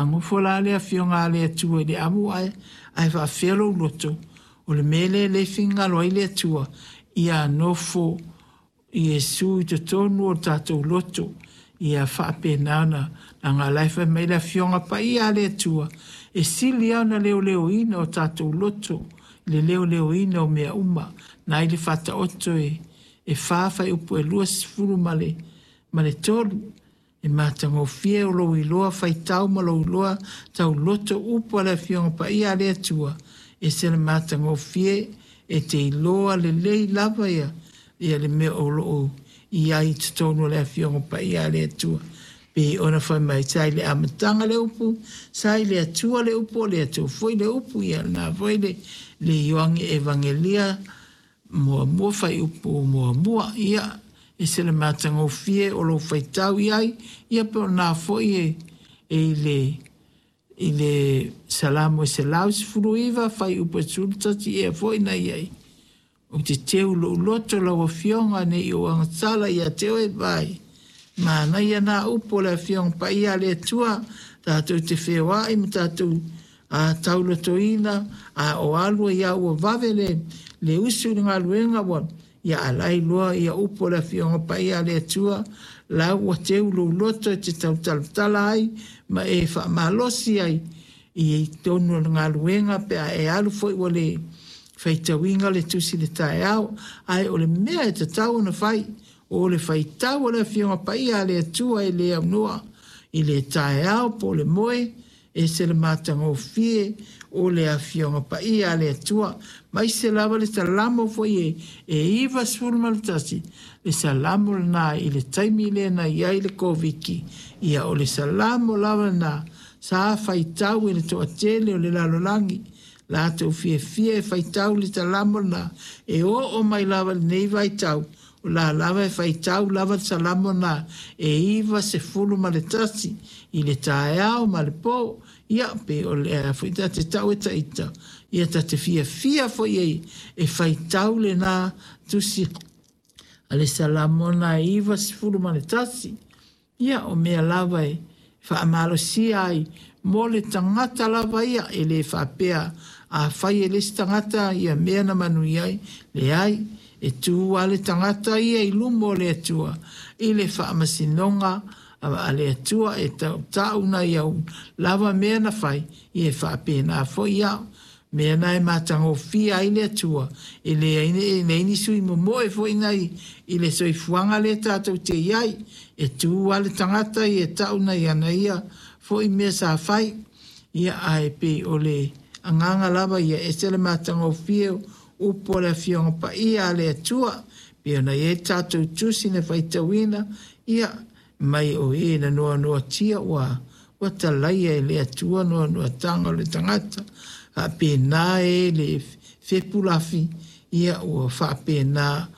A nofo la le Afioga a le Atua i le amu ae faafefea lou loto, o le mea lea lea e finagalo ai le Atua, ia nofo Iesu i totonu o tatou loto, ia faapena ona, leaga o la e fai mai le Afioga Paia a le Atua, e sili lava ona leoleoina o tatou loto i le leoleoina o mea uma. Na i le Faataoto e 4 fuaiupu e 23, e matagofie o lou iloa faitau ma lou iloa tauloto upu a le Afioga Paia a le Atua, e ese le matagofie, e te iloa lelei lava ia le mea o lo o i ai i totonu o le Afioga Paia a le Atua. Pei ona fai mai, sa i le amataga le upu, sa i le Atua le upu, o le Atua foi le upu. Ia lena foi le Ioane Evagelia muamua fuaiupu muamua. Ia, ese le matagofie o lou faitau i ai, ia po o lena foi e i le Salamo e 119 fuaiupu e 11 ea foi na i ai. Ou te teu i lou loto lau Afioga ne i ou agasala ia te oe, vai. Manaia nā upu o le Afioga Paia a le Atua, tatou te feoai ma tatou taulotoina, a o alu ai lava ua vave le usu i le galuega ua, ia a la e iloa ia upu o le Afioga Paia a le Atua, la ua teu lou loto e te tautalatala ai ma e faamalosi ai i totonu o le galuega pe a e alu foi ua le faitauina le tusi i le taeao. Ae o le mea e tatau ona fai, o le faitau o le Afioga Paia a le Atua e le aunoa i le taeao po o le moe, ese le matagofie o le Afioga Paia a le Atua. Maise lava le Salamo foi e 91, le Salamo lena i le taimi lea na i ai le Koviti, ia o le Salamo lava lena sa faitau e le toatele o le lalolagi, latou fiafia e faitau le Salamo lena, e oo mai lava i lenei vaitau, o la lava e faitau lava le Salamo lena e 91 i le taeao ma le po. Ia, pe o le a foi ta te tau e taita, ia ta te fiafia foi e faitau lena tusi a le Salamo lena e 91. Ia, o mea lava e faamalosia ai mo le tagata lava ia, e le faapea a fai e le isi tagata ia mea na manuia ai, leai, e tu lava le tagata ia i luma o le Atua i le faamasinoga a le Atua e tautau nai au lava mea na fai, ia e faapena foi au. Mea na e matagofie ai le Atua, e leai ni sui momoe foi nai i le soifuaga lea tatou te i ai, e tu lava le tagata ia e tau nai ana ia foi mea sa fai. Ia, ae pei o le agaga lava ia ese le matagofie upu o le Afioga Paia a le Atua, pei ona i ai le tatou tusi na faitauina, ia, mai o e na noanoatia ua talaia e le Atua noanoataga o le tagata. Faapena e le fepulafi, ia ua faapena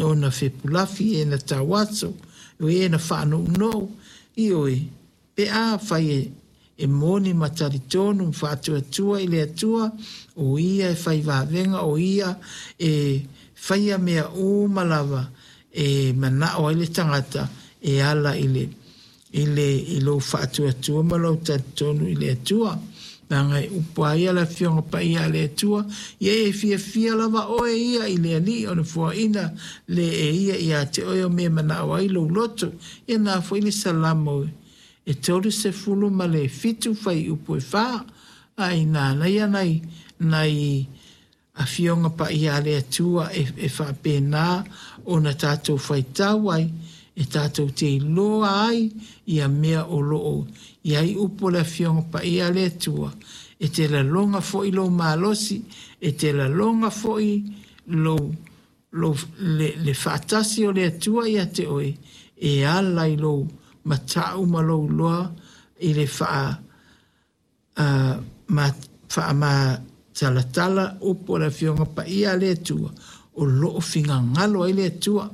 ona fepulafi e na tauaso, o e na faanounou, ioe, pe a fai e moni ma talitonu ma faatuatua i le Atua, o ia e fai vavega, o ia e faia mea uma lava e manao ai le tagata e ala i le i lou faatuatua ma lou talitonu i le Atua. Leaga e upu a ia le Afioga Paia a le Atua, ia e fiafia lava oe ia i le Alii ona foaina le e ia ia te oe o mea manao ai lou loto. Ia na foi le Salamo e 37 fuaiupu e 4, a ina ia nai Afioga Paia a le Atua e faapena ona tatou faitau ai, e tatou te iloa ai ia mea o loo i ai upu o le Afioga Paia a le Atua. E te laloga foi lou malosi, e te laloga foi lou le faatasi o le Atua ia te oe, e ala i lou matau ma lou iloa i le faamatalatala upu o le Afioga Paia a le Atua, o loo finagalo ai le Atua.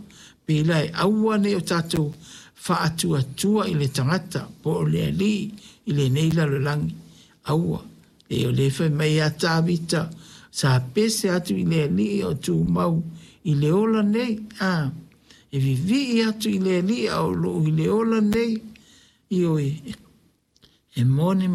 Pei la e aua nei o tatou faatuatua i le tagata po o le Alii i lenei lalolagi. Aua, e o le fai mai ia Tavita, sa pese atu i le Alii o tumau i le ola nei, e vivii atu i le Alii a o loo i le ola nei, ioe, e moni.